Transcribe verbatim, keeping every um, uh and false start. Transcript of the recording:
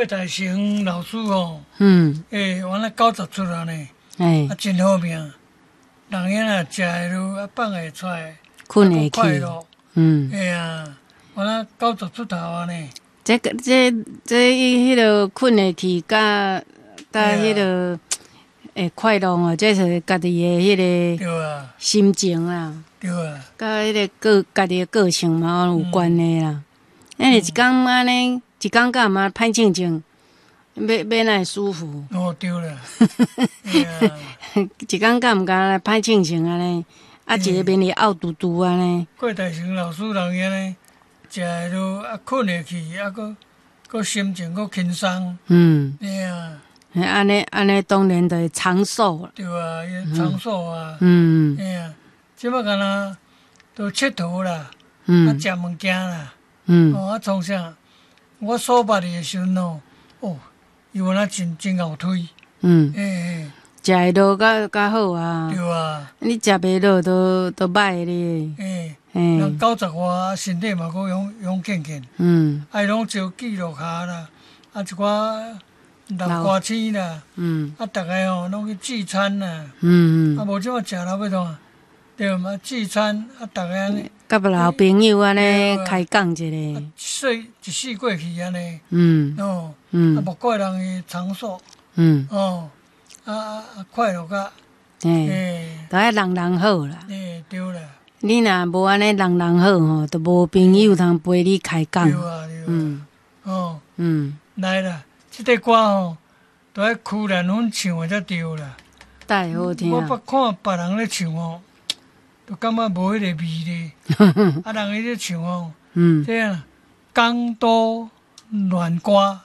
郭大成老師吼，嗯，欸，原來九十出來呢，欸，啊，真好命，人嬰仔食會落，啊，放會出來，睏會去，快樂，嗯，嘿啊，原來九十出頭啊呢。這個這這伊彼個睏會去，佮佮彼個會快樂哦，這是家己的彼個對啊，心情啦，對啊，佮彼個個家己的個性嘛有關係啦。因為一工按呢，一工敢嘛歹靜靜，欲欲哪會舒服？哦，對啦，一工敢毋敢歹靜靜按呢？啊，一个面會漚嘟嘟按呢。郭大成老師人遐呢，食會落啊，睏會去，啊，閣閣心情閣輕鬆。嗯。嘿啊。按呢按呢，當然就會長壽。對啊，伊長壽啊。嗯。嘿啊，這擺敢若都𨑨迌啦，嗯，啊，食物件啦。嗯。哦，啊，創啥？我所捌伊的時陣哦，哦，伊原來真真𠢕推。嗯。欸。食會落較較好啊。對啊。你食袂落都都歹咧。欸。人九十外，身體嘛閣勇勇健健。嗯。啊，伊攏招記錄下啦，啊，一寡老歌星啦。嗯。啊，逐个吼攏去聚餐啦。嗯嗯。啊，無這馬食了欲創？對嘛，聚餐啊，逐个按呢。佮老朋友按呢開講一下。世一世過去按呢。嗯。哦。嗯。啊，莫怪人伊長壽。嗯。哦。啊啊啊！快樂甲。欸。都愛人人好啦。欸，對啦。你若無按呢人人好吼，就無朋友通陪你開講。對啊，對啊。嗯。哦。嗯。來啦，這塊歌吼，都愛曲蘭芬唱的才對啦。太好聽。我捌看別人咧唱吼，就感覺無彼個味咧。啊，人伊咧唱吼，嗯，這樣江都戀歌。